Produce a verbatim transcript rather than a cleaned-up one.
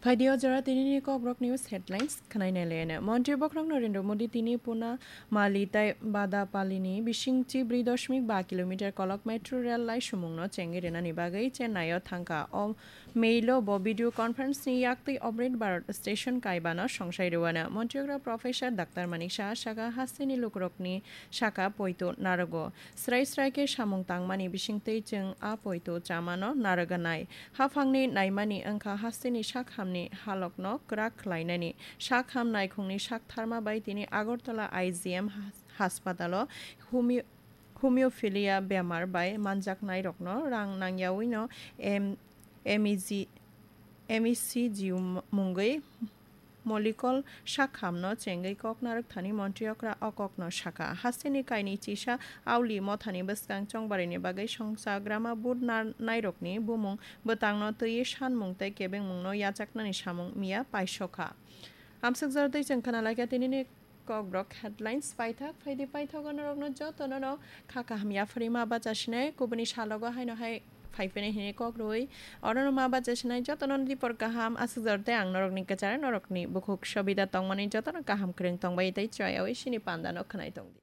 Phaidi o jora tinini Kokborok News headlines khwnai nai laiano. Montri Bokhorok Narendra Modi tini Puna Mali tai Badapalini bising chi brwi dashmik ba kilometer kolok metro rail lai sumungno chengwi rwnani bagwi Chennai o thangkha. O mailo bo video conference ni yaktwi Amrit Bharat station kaibano songsai rwano. Montri okra Professor Doctor Manik Saha saka hasteni lukurokni saka poito narogo. Srai srai khe samung tangmani bisingtwi chwng a poito chamano narwganai. Haphangni naimani wngkha hasteni sak hamni halokno kwrak khlainani. Sak ham naikhungni sak tharma bai tini Agartala I G M has-, haspatalo homeo-, hemophilia bemar bai manjaknairokno rang nangyawino M-, M E G, M E C G mungwi Molikol sak hamno chengwi kok narwk thani montri okra o kokno sakha. Hasteni kainwi chisa Auli mothani bwskang chongbarini bagwi songcha grama vote nar-, nairokni bumung bwtangno twiwi sanmung tei kebengmungno yachaknani samung miya paisokha. Amswk jora twi chwng khna laikha tinini Kokborok headlines paithak. Phaidi paithago norokno jotono no kha kaham yapharwi ma bacha sinai, kubuni salogo haino hai phai phini hini kok rwui. Orono ma bacha sinai jotono dipor kaham aswk jora tei ang norokni kwchar norokni bukhuk sobida tongmani jotono kaham kwrwng tongbai tei choyaui sini pandano khwnai tongdi.